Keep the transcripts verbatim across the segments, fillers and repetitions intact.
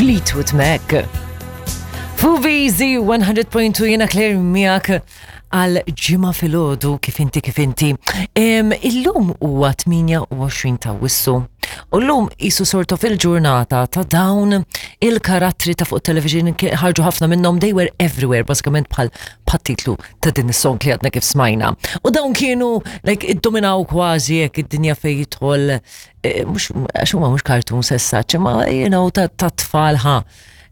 Fleetwood Mac. Fuq one hundred point two, jiena Claire miegħek għal Ġimgħa filgħodu, kif inti, kif inti. Em, Illum huwa tmienja u għoxrin ta' Awwissu. U llum qisu sort of il-ġurnata ta' dawn il-karattri ta' fuq television, ħarġu ħafna minnhom, they were everywhere, bażikament bħal titlu ta' din is-song li għadna kif smajna. U dawn kienu like iddominaw kważi hekk id-dinja fejn jidħol eh, mhux għax huma mhux cartoons as such, imma you know ta' ta' tfal ħa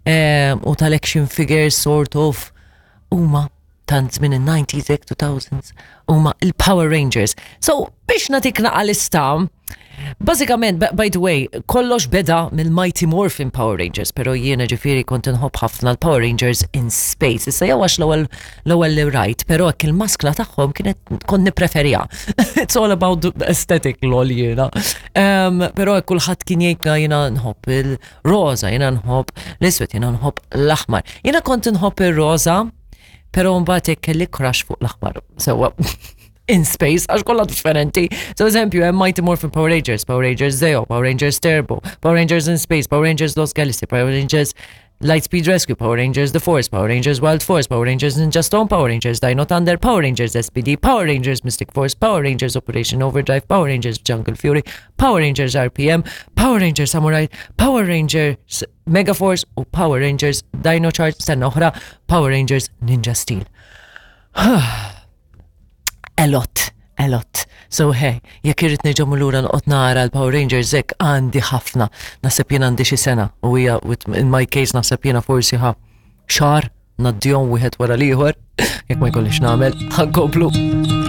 eh, u tal-action figures sort of, huma tant minn il-nineties ek two thousands, huma il-Power Rangers. So biex nagħtik naqa lista, bażikament, by the way, kollox beda mill-Mighty Morphin Power Rangers, pero jiena ġifieri kont inħobb ħafna l-Power Rangers in Space. Issa jew għax l-ewwel l-ewwel li rajt, pero hekk il-maskla tagħhom kienet kont nippreferija. It's all about the aesthetic, lol, jiena. Um, pero hekk kulħadd kien jgħid jiena nħobb il-roza, jiena nħobb l-iswed, jiena nħobb l-aħmar. Jiena kont nħobb il-roza, pero mbagħad hekk kelli crush fuq l-aħmar. Sewwa in Space, għax kollha differenti. So eżempju, hemm Mighty Morphin Power Rangers, Power Rangers Zeo, Power Rangers Turbo, Power Rangers in Space, Power Rangers Lost Galaxy, Power Rangers Lightspeed Rescue, Power Rangers The Force, Power Rangers Wild Force, Power Rangers Ninja Storm, Power Rangers Dino Thunder, Power Rangers S P D, Power Rangers Mystic Force, Power Rangers Operation Overdrive, Power Rangers Jungle Fury, Power Rangers R P M, Power Rangers Samurai, Power Rangers Mega Force u Power Rangers Dino Charge, stenna oħra, Power Rangers Ninja Steel. A lot, a lot. So hey, jekk irrid nerġa' lura noqgħod nara l-Power Rangers hekk, għandi ħafna. Naħseb jien għandi xi sena u hija in my case naħseb jiena forsi ħa xahar ngħaddihom wieħed wara l-ieħor jekk ma jkollix nagħmel. Ħa nkomplu.